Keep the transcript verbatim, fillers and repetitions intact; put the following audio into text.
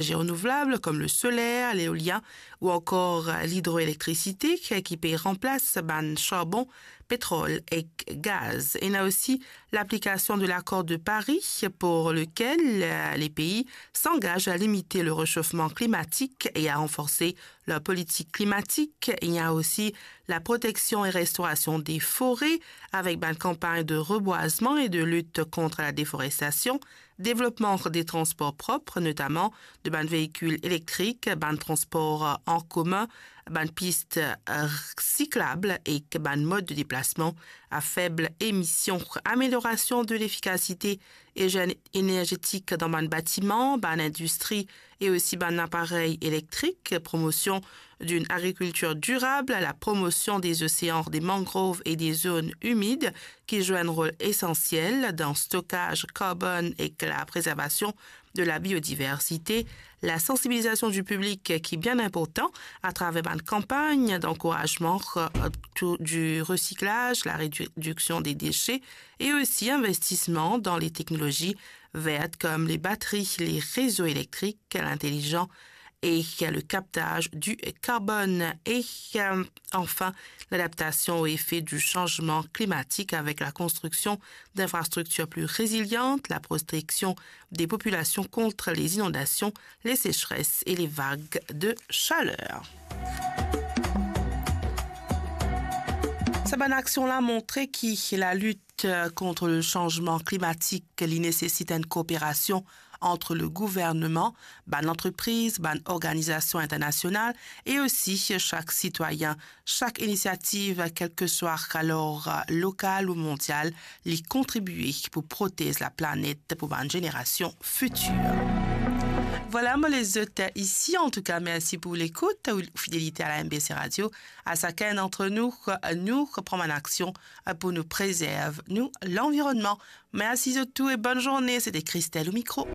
énergies renouvelables comme le solaire, l'éolien ou encore l'hydroélectricité ki pe ranplas bann charbon, pétrole et gaz. Il y a aussi l'application de l'accord de Paris pour lequel euh, les pays s'engagent à limiter le réchauffement climatique et à renforcer leur politique climatique. Il y a aussi la protection et restauration des forêts avec une campagne de reboisement et de lutte contre la déforestation, développement des transports propres, notamment de bann véhicules électriques, bann transports en commun, bann pistes euh, cyclables et bann modes de déplacement à faible émission, amélioration de l'efficacité énergétique dans bann bâtiments, bann industries et aussi bann appareils électriques, promotion d'une agriculture durable, la promotion des océans, des mangroves et des zones humides qui jouent un rôle essentiel dans le stockage carbone et la préservation de la biodiversité, la sensibilisation du public qui est bien important à travers une campagne d'encouragement euh, du recyclage, la réduction des déchets et aussi investissement dans les technologies vertes comme les batteries, les réseaux électriques, l'intelligent et le captage du carbone et euh, enfin l'adaptation aux effets du changement climatique avec la construction d'infrastructures plus résilientes, la protection des populations contre les inondations, les sécheresses et les vagues de chaleur. Sa bann aksion la montre ki la lit euh, contre le changement climatique li nésesit une coopération entre le gouvernement, bann antrepriz, bann organizasion internasional e osi chak sitwayin. Chak inisiativ, kelseswa alor lokal ou mondial, li kontribie pou protez laplanet pou bann zenerasion fitir. Vwala, mo les zot isi. Antouka, mersi pou lekout ou fidelite a la M B C Radio. A sakenn dantre nou, nou pran bann aksion pou nou prezerv nou lanvironnman. Mersi zot tou e bonn zourne. Sete Christelle o mikro.